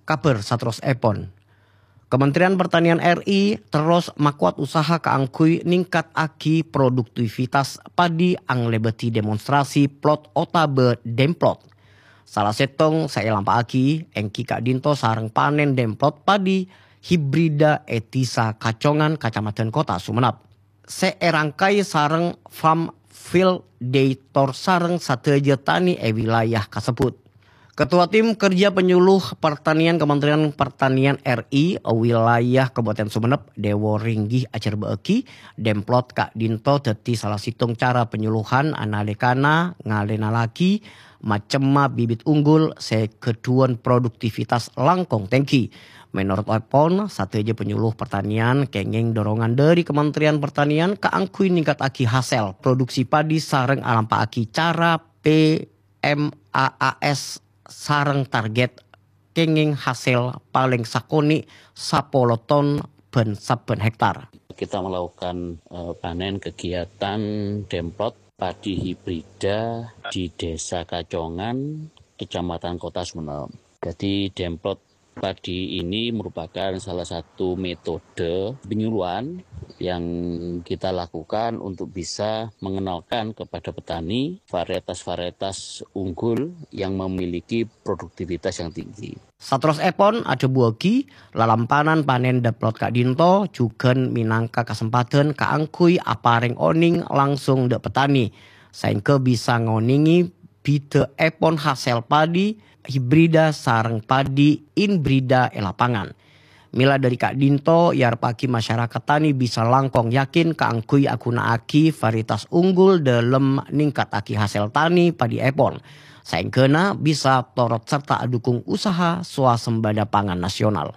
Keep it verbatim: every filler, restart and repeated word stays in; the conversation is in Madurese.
Kabhâr saterrossèpon. Kementerian Pertanian R I terros makowat usaha kaangghuy ningkataghi produktivitas padi anglèbâdhi demonstrasi plot otabâ demplot. Sala sèttong sè èlampa'aghi èngghi ka'dinto sareng panèn demplot padi hibrida è Dhisa Kacongan, Kacamadhân Kottha Sumenep, sè èrangkaè sareng Farm Field Day Tour sareng sadhâjâ tanè è wilayah kasebbhut. Ketua Tim Kerja Penyuluh Pertanian Kementerian Pertanian R I wilayah Kabupaten Sumenep, Dewo Ringgih, ajhârbâ'âghi demplot ka'dinto dhâddhi sala sèttong cara penyuluhan analèkana ngalènalaghi macemma bibit unggul sè ghâdhuwân produktivitas langkong tèngghi. Mènorot èpon, sadhâjâ penyuluh pertanian kèngèng dorongan dhâri Kementerian Pertanian kaangghuy ningkataghi hasèl produksi padi sareng alampa'aghi cara P M A A S sareng target kèngèng hasèl palèng sakonè' sapolo ton bân sabbhân hektar. Kita melakukan, eh, panen kegiatan demplot padi hibrida di Desa Kacongan, Kecamatan Kottha Sumenep. Jadi, demplot padi ini merupakan salah satu metode penyuluhan yang kita lakukan untuk bisa mengenalkan kepada petani varietas-varietas unggul yang memiliki produktivitas yang tinggi. Saterrossèpon adhâbuwâghi, lalampanan panèn demplot ka'dinto jhughân mènangka kasempadhân kaangghuy aparèng onèng langsung dhâ' petani, saèngghâ bisa ngonèngè bhidhâèpon hasèl padi hibrida sareng padi inbrida è lapangan. Mèla dhâri ka'dinto, èarepaghi masyarakat tanè bisa langkong yakin kaangghuy aghuna'aghi varietas unggul dhâlem ningkataghi hasèl tanè padièpon, saèngghâna bisa torot sarta adhukung usaha swasembada pangan nasional.